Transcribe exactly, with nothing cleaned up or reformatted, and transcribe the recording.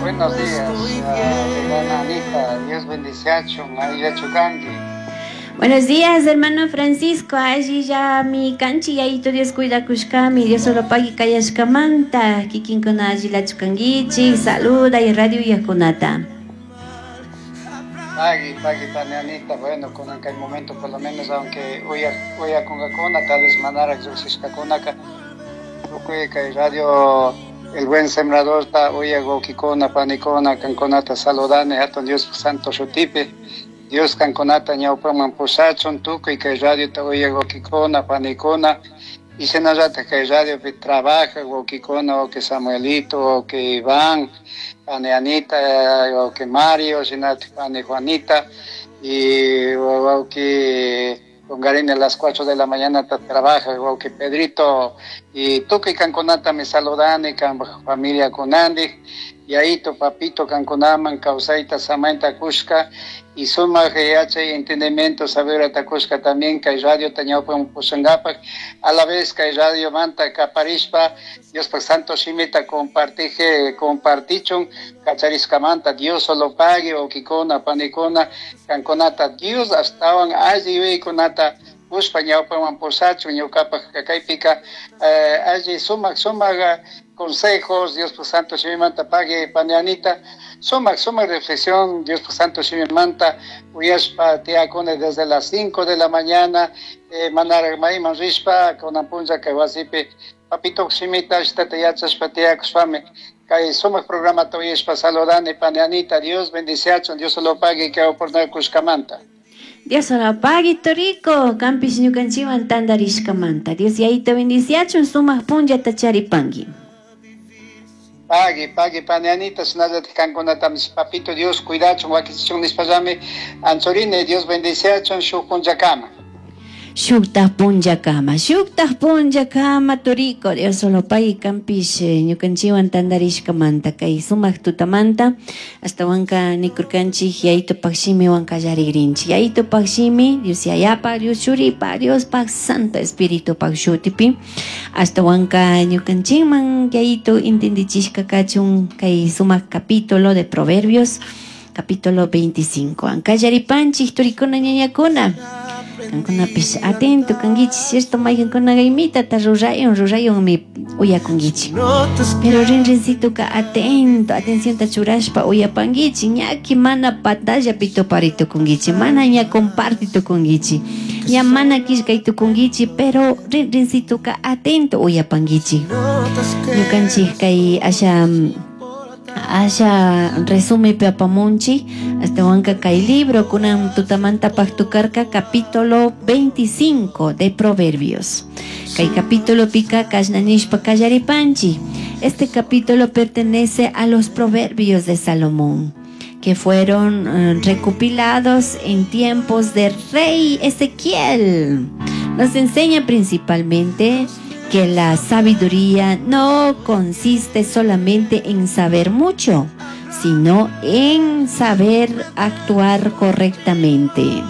Buenos días, uh, Anita. Dios bendiciachun, allillachu kanki. Buenos días, hermano Francisco. Allillami kanchik, Yayito Dios cuidakushkami, Dios solo pagui kayashkamanta, kikinkuna allillachu kankichik, saluda y radio yakunata. Pagui, pagui, pani Anita, bueno, kunan kay momento por lo menos, aunque uya, uyakunkakuna, tal vez manarak lluqshishkakunaka, tukuy kay radio El Buen Sembrador ta uyak wawkikuna, panikuna, kankunata saludani, hatun Dios Santo shutipi, Dios kankunata ñawpaman pushachun, tukuy kay radiota uyak wawkikuna, panikuna, y shinallatak kay radiopi trabaja wawkikuna, wawki Samuelito, wawki Iván, pani Anita, wawki Mario, shinallatak pani Juanita, y wawki Congarina a las cuatro de la mañana trabaja, wawki Pedrito, y tukuy kankunata mi saludani, kan familia kunandi, Yayito, papito kankunaman, kawsayta, samayta kushka, y sumak yachay entendimiento, sabiduría kushka también, kay radio ta ñawpaman pushankapak, a la vez kay radio manta kaparishpa, Dios santo shimita compartije, compartichun, kacharishkamanta, Dios solo pague, wawkikuna, panikuna, kankunata, Dios ashtawan alli yuyaykunata kushpa ñawpaman pushachun, ñukapak kaypika, eh, alli sumak sumak consejos, Dios santo shimimanta pagui pani Anita, sumak sumak reflexión, Dios santo shimimanta, uyashpa tiyakuni desde las cinco de la mañana, eh, manarak mayman rishpa, kunan punlla kay wasipi, papito shimita ashtata yachashpa tiyakushpami, kay sumak programata uyashpa saludani pani Anita, Dios bendiciachun, Dios lo pague kay oportunidad kushkamanta. Dios solo pagui toriko, kanpish ñukanchikwan tantarishkamanta. Dios Yayito bendiciachun, sumak punllata charipanki. Pagui, pagui, pani Anita, shinallatak kankunatami papito Dios cuidachun, wakichichun nishpallami, anchurine, Dios bendiciachun, shuk punllakama. Shuktaj punllakama, shuktaj punllakama, toriko, Dios solo pagui kanpish ñukanchikwan tantarishkamanta, kay sumak tutamanta, ashtawanka nikurkanchik Yayitopak shimiwan kallarigrinchik. Yayitopak shimi, Dios Yayapa, Dios Churipa, Diospak Santo Espiritupak shutipi, ashtawanka ñukanchikman Yayito entendichishka kachun kay sumak capítulo de Proverbios, capítulo veinticinco. Ankallaripanchik turikuna ñañakuna. Kankunapish atento kankichik, cierto, mayqankuna imita rurayun, rurayunmi uyakunkichik. Pero rinrincituka atento, atencionta churashpa uyapankichik, ñaki mana pantallapi tuparitukunkichik, mana ña compartitukunkichik, ña mana killkaytukunkichik, pero rinrincituka atento uyapankichik. Ñukanchik kay asha asha resume apamunchi, ashtawanka kay libro kunan tutamanta paktukarka capítulo veinticinco de Proverbios. Kay capítulo pika kashnanishpa kallaripanchi. Este capítulo pertenece a los Proverbios de Salomón, que fueron eh, recopilados en tiempos de rey Ezequiel. Nos enseña principalmente que la sabiduría no consiste solamente en saber mucho, sino en saber actuar correctamente.